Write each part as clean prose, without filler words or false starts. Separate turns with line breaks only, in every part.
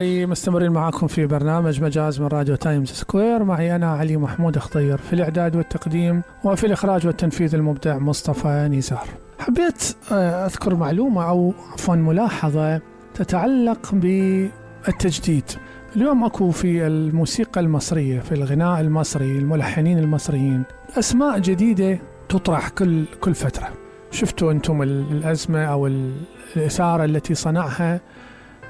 مستمرين معاكم في برنامج مجاز من راديو تايمز سكوير. معي أنا علي محمود خضير في الإعداد والتقديم، وفي الإخراج والتنفيذ المبدع مصطفى نزار. حبيت أذكر معلومة أو عفوا ملاحظة تتعلق بالتجديد. اليوم أكو في الموسيقى المصرية، في الغناء المصري، الملحنين المصريين أسماء جديدة تطرح كل فترة. شفتوا أنتم الأزمة أو الإثارة التي صنعها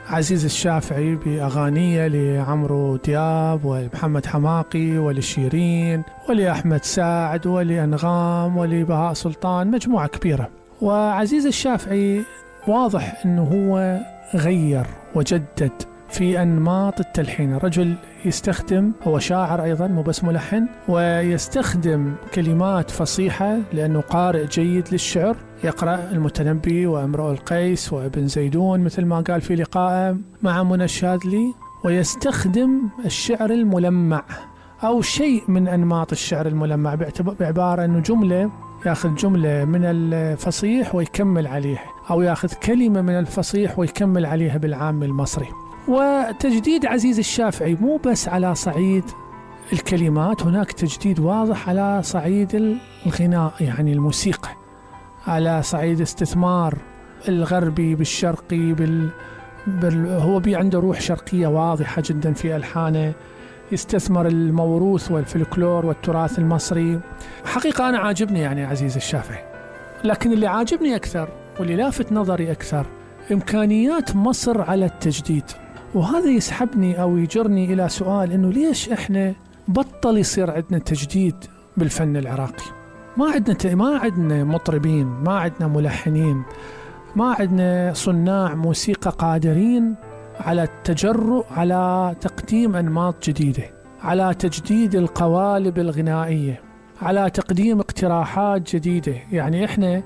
عزيز الشافعي بأغانيه لعمرو دياب ومحمد حماقي ولشيرين ولأحمد سعد ولأنغام ولبهاء سلطان، مجموعة كبيرة. وعزيز الشافعي واضح أنه هو غير وجدد في أنماط التلحين. رجل يستخدم، هو شاعر أيضا مو بس ملحن، ويستخدم كلمات فصيحة لأنه قارئ جيد للشعر، يقرأ المتنبي وامرؤ القيس وابن زيدون مثل ما قال في لقائه مع منى الشاذلي، ويستخدم الشعر الملمع أو شيء من أنماط الشعر الملمع بعبارة أنه جملة، ياخذ جملة من الفصيح ويكمل عليها، أو ياخذ كلمة من الفصيح ويكمل عليها بالعام المصري. وتجديد عزيز الشافعي مو بس على صعيد الكلمات، هناك تجديد واضح على صعيد الغناء، يعني الموسيقى، على صعيد استثمار الغربي بالشرقي هو عنده روح شرقية واضحة جدا في ألحانه، يستثمر الموروث والفلكلور والتراث المصري. حقيقة أنا عاجبني يعني عزيز الشافعي، لكن اللي عاجبني أكثر واللي لافت نظري أكثر إمكانيات مصر على التجديد. وهذا يسحبني أو يجرني إلى سؤال، إنه ليش إحنا بطل يصير عندنا تجديد بالفن العراقي؟ ما عندنا مطربين، ما عندنا ملحنين، ما عندنا صناع موسيقى قادرين على التجرؤ على تقديم أنماط جديدة، على تجديد القوالب الغنائية، على تقديم اقتراحات جديدة. يعني إحنا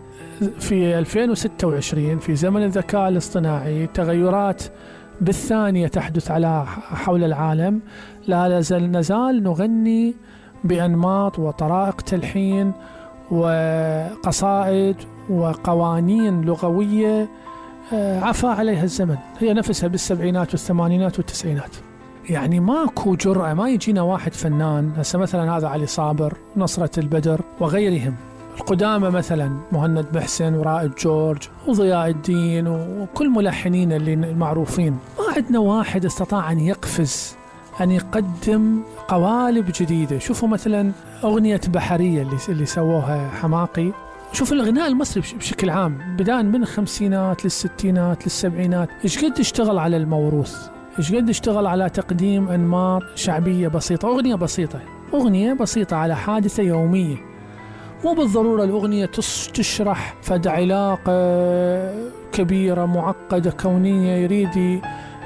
في 2026 في زمن الذكاء الاصطناعي، تغيرات بالثانية تحدث حول العالم، لا نزال نغني بأنماط وطرائق تلحين وقصائد وقوانين لغوية عفى عليها الزمن، هي نفسها بالسبعينات والثمانينات والتسعينات. يعني ماكو جرأة، ما يجينا واحد فنان هسه مثلا هذا علي صابر، نصرة البدر وغيرهم القدامى، مثلا مهند محسن ورائد جورج وضياء الدين وكل ملحنين اللي معروفين، ما عندنا واحد استطاع أن يقفز، أن يقدم قوالب جديدة. شوفوا مثلا أغنية بحرية اللي سووها حماقي. شوف الغناء المصري بشكل عام بداية من الخمسينات للستينات للسبعينات، إيش قد اشتغل على الموروث، إيش قد اشتغل على تقديم أنماط شعبية بسيطة، أغنية بسيطة على حادثة يومية. مو بالضرورة الأغنية تشرح فد علاقة كبيرة معقدة كونية، يريد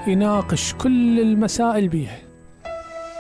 يناقش كل المسائل بيها.